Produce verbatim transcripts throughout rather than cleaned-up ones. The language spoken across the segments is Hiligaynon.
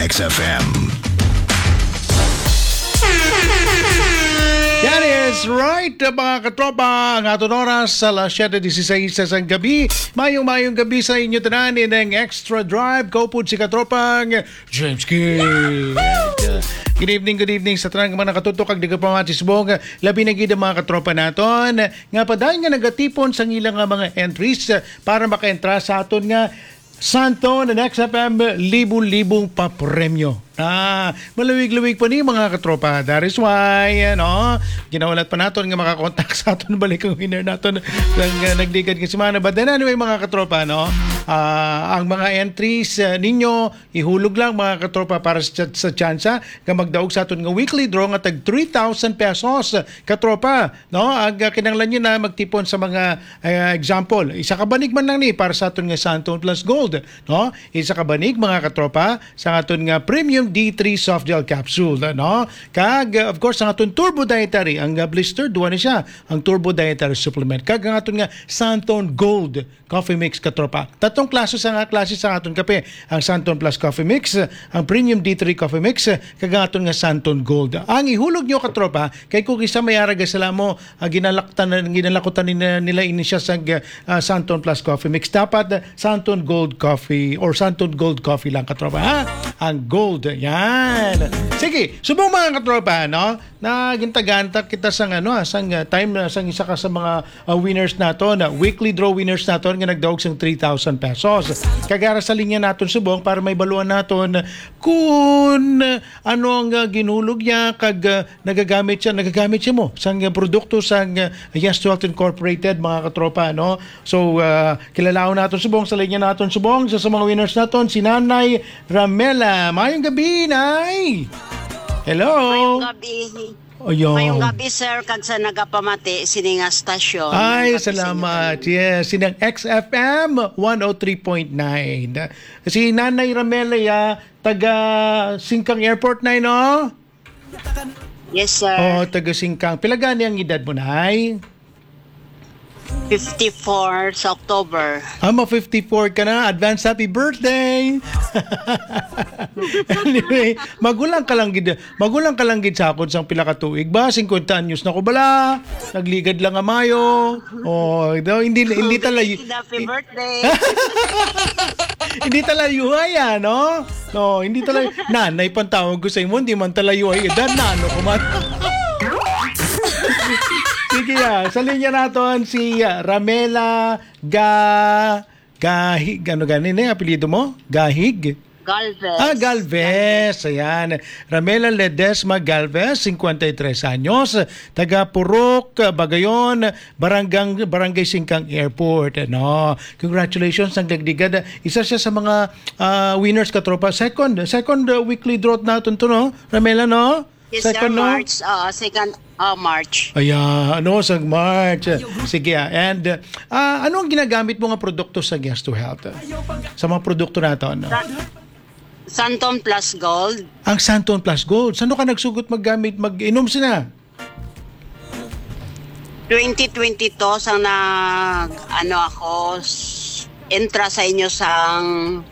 X F M. That is right, mga katropa. Ang aton oras sa alas siyete dieciséis sa gabi. Mayong, mayong gabi sa inyo tanan in ang Extra Drive. Kaupod si katropang James King. Good evening, good evening sa tanan nga mga nakatutok kag nagapamati subong. Labi na gid ang mga katropa naton nga padayon nga nagatipon sa ilang nga mga entries para makaentra sa aton nga Santon and X F M libo-libong papremyo. Ah, malawig-lawig pa ni mga katropa. That is why, ano, ginahulat pa naton nga makakontak sa aton balik ang winner naton sang, uh, nagligad nga semana. But then anyway, mga katropa, no, ah, ang mga entries, uh, ninyo, ihulog lang, mga katropa, para sa, sa tsansa nga magdaog sa aton nga weekly draw nga tag three thousand pesos, katropa, no? Ang, uh, kinahanglan nyo na magtipon sa mga, uh, example, isa ka banig man lang ni para sa aton nga Santon Plus Gold, no? Isa ka banig, mga katropa, sa aton nga premium D three soft gel capsule, no? Kag, uh, of course, ang aton turbo dietary, ang, uh, blister, duwa ni siya, ang turbo dietary supplement. Kag ang aton nga Santon Gold Coffee Mix, katropa. Tatlong klase sa nga klase sa aton kape, ang Santon Plus Coffee Mix, ang Premium D three Coffee Mix, kag ang aton nga Santon Gold. Ang ihulog nyo, katropa, kay kung isa may arag sila mo, ah, ginalaktan, ginalakutan ni, nila ini siya sa, ah, Santon Plus Coffee Mix. Dapat, ah, Santon Gold Coffee or Santon Gold Coffee lang, katropa, ha? Ang gold, yan. Sige, subong, mga katropa, no? Na gintagaan ta kita sang, ano, ah, sang, ah, time, ah, sang isa ka sa mga, ah, winners naton, na weekly draw winners naton nga nagdaog sang three thousand pesos. Kag ara sa linya naton subong para may baluan naton kung, ah, ano ang, ah, ginhulog niya kag, ah, nagagamit siya, nagagamit siya mo sang, ah, produkto sang, ah, Yes to Health Incorporated, mga katropa, no? So, ah, kilalaon naton subong sa linya naton subong sa, sa mga winners naton, si Nanay Ramela. Mayong gabi, Nay. Hello. Mayong gabi. Ayan. Mayong gabi, sir, kag sa nagapamati sini nga stasyon. Ay, mayong gabi sa inyo salamat. Tanan. Yes, sinang X F M one oh three point nine. Si Nanay Ramela, ya, taga Singkang Airport na, no? Yes, sir. Oh, taga Singkang. Pila gani ang edad mo, Nay? Fifty-four sa October. Ah, ma fifty-four ka na. Advance happy birthday! Anyway, magulang ka lang gid, magulang ka lang gid sa akon sang pila ka tuig ba? Singkwenta anyos na ko bala. Nagligad lang nga mayo. Oh, daw, hindi, hindi talayo. Happy birthday. Hindi talayo ay, ano? No, hindi talayo. Nanay pang tawag ko sa imo, hindi man talayo ay edad na, ano ko man. Sige, ah, sa linya naton si, ah, Ramela Ga-, Gahig. Ano gani na yung apelyido mo? Gahig? Galvez. Ah, Galvez. Ayan. Ramela Ledesma Galvez, cincuenta y tres anyos, taga Purok, Bagayon, Barangay, Barangay Singkang Airport. Ano? Congratulations, ang dagdigad. Isa siya sa mga, ah, winners, katropa. Second, second, uh, weekly draw naton to, no? Ramela, no? Yes, sir, second, no? March. Ah, second, ah, March. Ayan, ano, sa March. Sige, ah. And, ah, ano ang ginagamit mo nga produkto sa Yes to Health? Sa mga produkto naton, no? Sa-, Santon Plus Gold. Ang Santon Plus Gold. Saan ka nagsugot maggamit, mag-inom sina? Twenty twenty-two, sang nag, ano ako, s-, entra sa inyo sang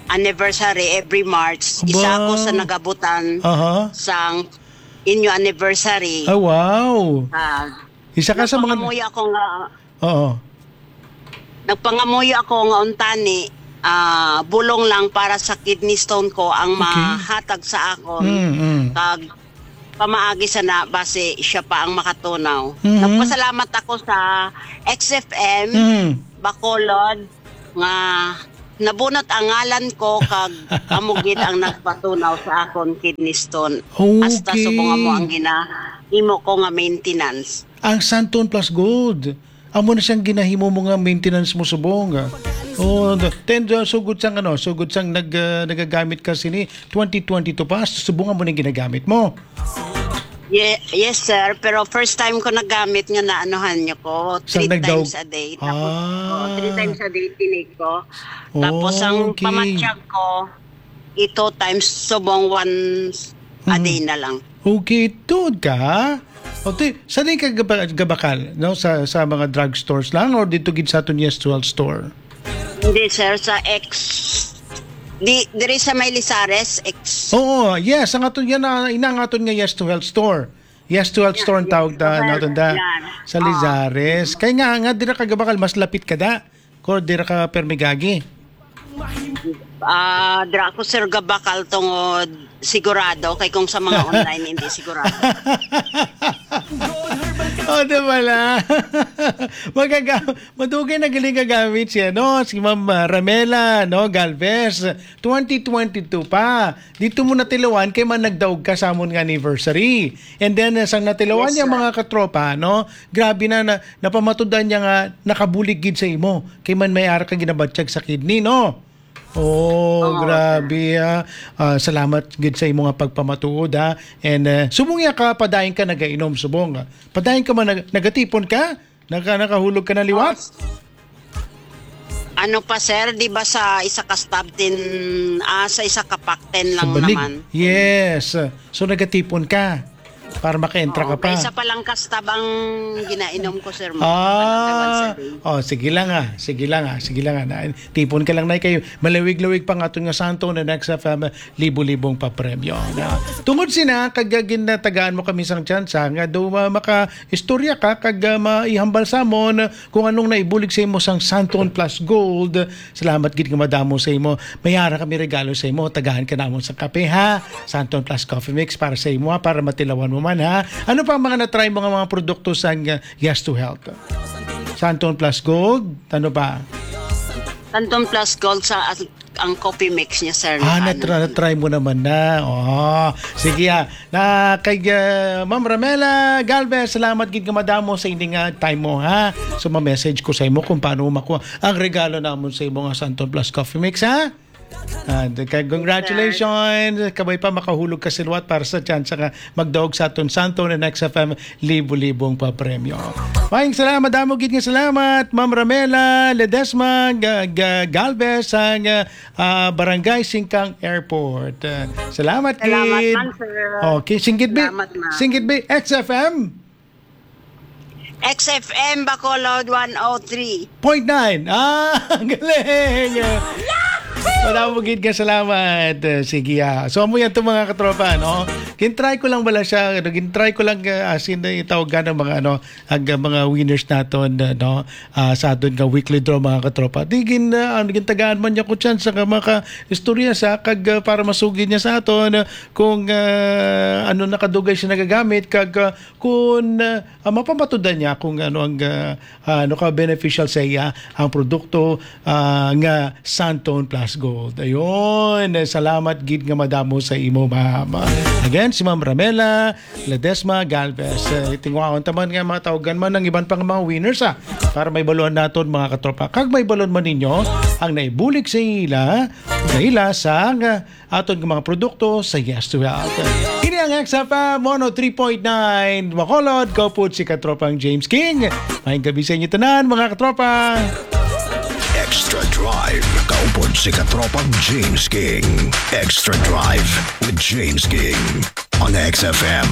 anniversary every March. Isa Aba. Ako sa nagabutan Aha. Sang inyo anniversary. Ah, wow. Ah, Isa ka sa mga nagpangamuyo ako nga Oo. Nagpangamuyo ako nga untani, ah, bulong lang para sa kidney stone ko ang Okay. Mahatag sa akon. Mm, mm. Kag pamaagi sana basi siya pa ang makatunaw. Mhm. Nagpasalamat ako sa X F M Mhm. Bacolod nga nabunot ang ngalan ko kag amo gid ang nagpatunaw sa akon kidney stone. Hasta Okay. Subong amo ang ginahimo ko nga maintenance. Ang Santon Plus Gold. Amo na siyang ginahimo mo nga maintenance mo subong, ah. Oh, the, ten, uh, sugod sang ano, sugod sang nag, uh, nagagamit ka sini twenty twenty-two pa, subong mo na ginagamit mo. Ye-, yes, sir. Pero first time ko nagamit nga naanuhan niyo ko, Sa three nagdaog- times a day. Tapos, Ah. Oh, three times a day tinig ko. Tapos ang Okay. Pamatyag ko, i-, two times, subong once a Mm. day na lang. Okay, tuod ka? O, ti-, sa di ka gaba-, gabakal, no? Sa, sa mga drugstores lang or dito gid sa aton Yes to Health store? Hindi, sir. Sa X, Di, diri sa may Lizares, ex. Oo, yes, ang aton yan, ah, ina ang aton nga Yes to Health Store. Yes to Health Store ang tawag ta, naton da. Yan. Sa Lizares. Kay nga, nga dira ka Gabakal, mas lapit ka da. Kor dira ka permigagi. Ah, dira ako, sir, Gabakal tungod sigurado, kay kung sa mga online, hindi sigurado. O, di ba la? Magaga-, madugay na galing kagamit siya, no? Si Ma'am, ah, Ramela, no? Galvez, twenty twenty-two pa. Dito mo natilawan kay man nagdaog ka sa amon nga anniversary. And then, ah, sang natilawan niya, mga katropa, no? Grabe na, na napamatud-an niya nga nakabulig gid sa imo. Kay man may ara ka ginabatyag sa kidney, no? Oh, grabe, ah. Ah, salamat gid sa imo nga pagpamatuod, ha. And, ah, subong ya ka, padayon ka nagainom, subong, ah. Padayon ka man, nag-, nagatipon ka? Naka-, nakahulog ka na liwat? Ano pa, sir? Di ba sa isa ka stub tin, ah, sa isa ka pack ten lang naman? Yes. So, nagatipon ka para maka-entra ka pa. Isa pa lang ka stub ang ginainom ko, sir. Mo. Ah, oh, sige lang ah. Sige lang ah. Sige lang ah. Na, tipon ka lang na kayo. Malawig-lawig pa nga aton nga Santon and X F M libo-libong papremyo. Na, tungod sina, kag ginatagaan mo kami sang tsansa nga do ma-, maka-istorya ka kag, ah, maihambal sa amon kung anong naibulig sa imo sang Santon Plus Gold. Salamat gid nga madamo sa imo. May ara kami regalo sa imo. Tagahan ka namon sa kape, ha? Santon Plus Coffee Mix para sa imo, ha? Para matilawan mo man, ha? Ano pa ang mga na-try mo nga mga produkto sang, ah, Yes to Health? Santon Plus Gold, ano pa? Santon Plus Gold sa as-, ang coffee mix niya, sir, Ah, na natra-, ano. na-try mo naman na. Oh, sige, ah. Na kay, ah, Ma'am Ramela Galvez, salamat gid nga madamo sa ini nga time mo, ha. So, ma-message ko sa imo kung paano mo makuha ang regalo namon sa imo nga Santon Plus Coffee Mix, ha. And kay congratulations, kabay pa makahulog ka sa liwat para sa tsansa nga magdaog sa aton Santon and X F M libo-libong papremyo. Maayong salamat, damo gid nga salamat, Ma'am Ramela Ledesma Ga-, Ga-, Galvez, ang, ah, ah, Barangay Singkang Airport. Ah, salamat gid. Salamat man, sir. Okay, singgit bi. Salamat, ma'am. Singgit bi, X F M? X F M Bacolod one oh three. Point nine. Ah, ang galing. Madamo gid nga salamat. Eh, sige, ah. So, amo yan to, mga katropa, no? Gintry ko lang wala siya, ano, gintry ko lang, ah, as in, eh, itawag ka ng mga, ano, ang, ah, mga winners naton, ah, no? Ah, sa aton nga weekly draw, mga katropa. Di gin, ah, ano, gintagaan man niya ko chance sa maka istorya sa kag, ah, para masugid niya sa aton, ah, kung, ah, ano nakadugay siya nagagamit kag, ah, kung, ah, ah, mapamatudan niya kung ano ang, ah, ah, ano ka beneficial sa iya ang produkto, ah, nga Santon Plus Gold. Ayun, eh, salamat gid nga madamo sa imo, ma'am. Again, si Ma'am Ramela Ledesma Galvez. Eh, tingwaon taman nga matawagan man ang iban pang mga winners, ah, para may balon naton, mga katropa. Kag may balon man ninyo ang naibulig sa ila, sa ila sang, ah, aton nga mga produkto sa Yes to Health. Ini ang X F M one oh three point nine Bacolod. Kaupod si Katropang James King. Maayong gabi sa inyo tanan, mga katropa. Extra Drive. Kaupod si Katropang James King. Extra Drive with James King on X F M.